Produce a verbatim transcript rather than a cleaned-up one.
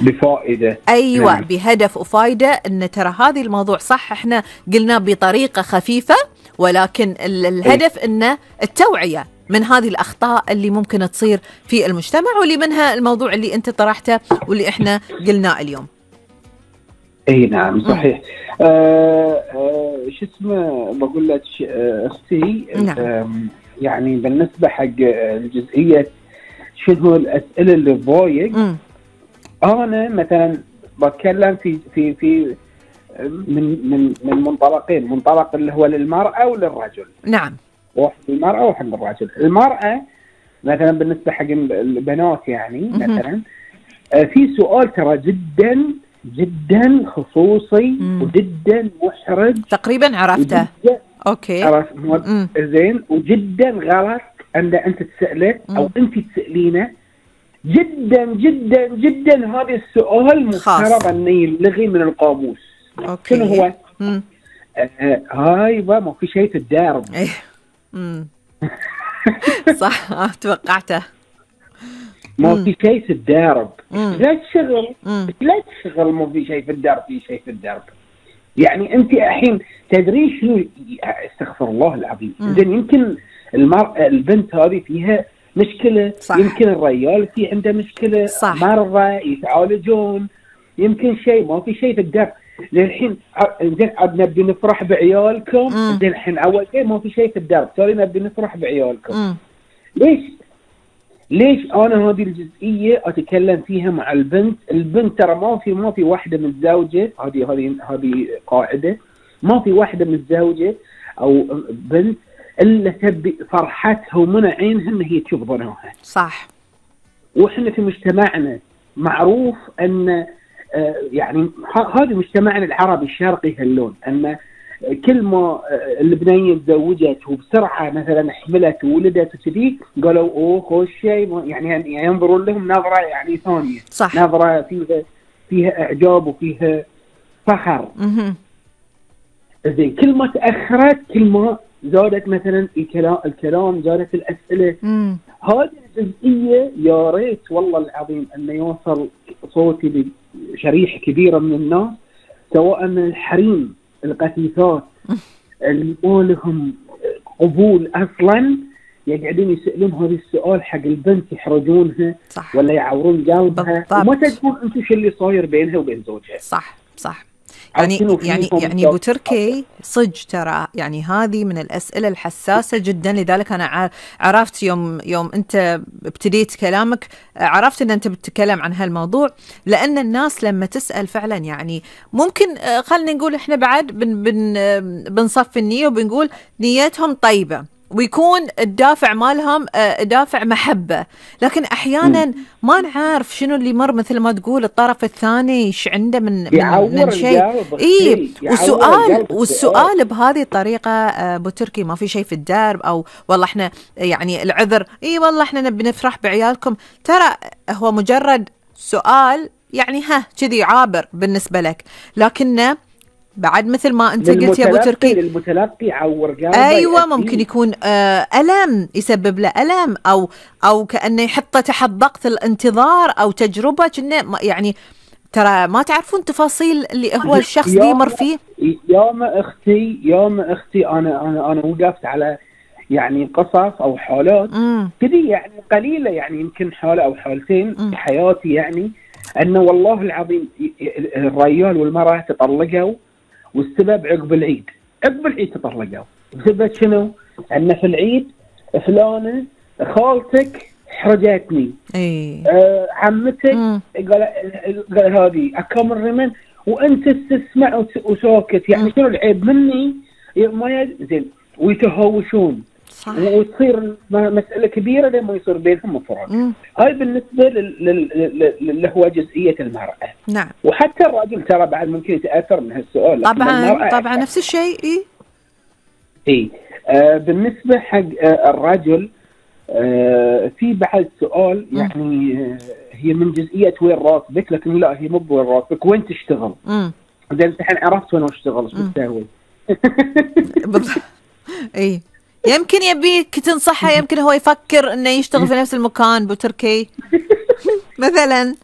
بفائدة. أيوة نعم. بهدف وفائدة. إن ترى هذه الموضوع صح إحنا قلنا بطريقة خفيفة، ولكن الهدف إنه التوعية من هذه الأخطاء اللي ممكن تصير في المجتمع، واللي منها الموضوع اللي أنت طرحته واللي إحنا قلناه اليوم. اي نعم صحيح. آه آه شو اسمه بقول لك اختي. نعم. يعني بالنسبه حق الجزئيه شنو الاسئله اللي تضايق، انا مثلا بتكلم في في في من من من منطلقين، منطلق اللي هو للمراه وللرجل. نعم. واحد للمراه وواحد للرجل. المراه مثلا بالنسبه حق البنات يعني مثلا آه في سؤال ترى جدا جدا خصوصي مم. وجدا محرج. تقريبا عرفته. اوكي عرفت زين، وجدا غلط ان انت تساله او انت تسالينه. جدا جدا جدا هذا السؤال مفترض انه يلغي من القاموس. اوكي. شنو هو؟ آه آه هاي ما في شيء في الدارب. امم صح. آه توقعته. ما في شيء في الدارب. لا تشغل لا تشغل ما في شيء في الدارب. في شيء في الدارب يعني انت الحين تدري شنو؟ استغفر الله العظيم. زين يمكن المرأة البنت هذه فيها مشكلة. صح. يمكن الرجال في عنده مشكلة. صح. مرضى يتعالجون. يمكن شيء ما في شيء في الدارب. زين الحين زين نبي نفرح بعيالكم. زين الحين اول شيء ما في شيء في الدارب، ثاني نبي نفرح بعيالكم. مم. ليش؟ ليش انا هذه الجزئيه اتكلم فيها مع البنت؟ البنت ترى ما في ما في واحده متزوجه، هذه هذه هذه قاعده، ما في واحده متزوجه او بنت الا تبي فرحتها ومن عينها ان هي تشوف ظنها. صح. واحنا في مجتمعنا معروف ان آه يعني هذا مجتمعنا العربي الشرقي هاللون، ان كل ما البنيه تزوجت وبسرعه مثلا حملت وولدت وكذي قالوا اوه خوش شيء، يعني ينظرون لهم نظره يعني ثانيه. صح. نظره فيها فيها اعجاب وفيها فخر. اها زين كل ما تاخرت كل ما زادت مثلا الكلام الكلام زادت الاسئله. امم هذه الجزئيه يا ريت والله العظيم انه يوصل صوتي لشريحه كبيره من الناس، سواء من الحريم القسيسات اللي ما لهم قبول اصلا يقعدون يسالون هذا السؤال حق البنت يحرجونها. صح. ولا يعورون قلبها وما تدرون انتم شو اللي صاير بينها وبين زوجها. صح صح. يعني يعني يعني ابو تركي صج ترى يعني هذه من الاسئله الحساسه جدا، لذلك انا عرفت يوم يوم انت ابتديت كلامك عرفت ان انت بتتكلم عن هالموضوع، لان الناس لما تسال فعلا يعني ممكن خلينا نقول احنا بعد بن بن بنصفي النيه وبنقول نيتهم طيبه ويكون الدافع مالهم دافع محبة، لكن أحيانا ما نعرف شنو اللي مر مثل ما تقول الطرف الثاني ايش عنده من من, من شيء. إيه والسؤال والسؤال بهذه الطريقة أبو تركي ما في شيء في الدرب، أو والله إحنا يعني العذر إيه والله إحنا نبي نفرح بعيالكم، ترى هو مجرد سؤال يعني ها كذي عابر بالنسبة لك، لكنه بعد مثل ما انت قلت يا ابو تركي للمتلقي عور قلبه. ايوه ممكن يكون آه الم يسبب له الم، او او كانه يحطه تحت ضغط الانتظار او تجربه كأنه يعني ترى ما تعرفون تفاصيل اللي هو الشخص دي يمر فيه. يوم اختي يوم اختي انا انا انا وقفت على يعني قصص او حالات كذي يعني قليله، يعني يمكن حاله او حالتين في حياتي، يعني انه والله العظيم الرجال والمراه تطلقوا والسبب عقب العيد. عقب العيد تطلقوا بسبب شنو؟ أن في العيد فلانة خالتك حرجتني. اي آه عمتك قال قال هذه أكمل رمن وأنت تسمع وساكت، يعني شنو العيب مني؟ ما زين ويتهاوشون. صح. وتصير مسألة كبيرة لما يصير بينهم مفرق. هاي بالنسبة اللي هو جزئية المرأة. نعم. وحتى الرجل ترى بعد ممكن يتأثر من هالسؤال. طبعا طبعا نفس الشيء. إيه إيه آه بالنسبة حق آه الرجل آه في بعد سؤال يعني آه هي من جزئية وين راتبك، لكن لا هي مو بوين راتبك، وين تشتغل. امم زين الحين عرفت وين اشتغل ايش بتسوي. بالضبط. اي يمكن يبيك تنصحه، يمكن هو يفكر انه يشتغل في نفس المكان بو تركي مثلا.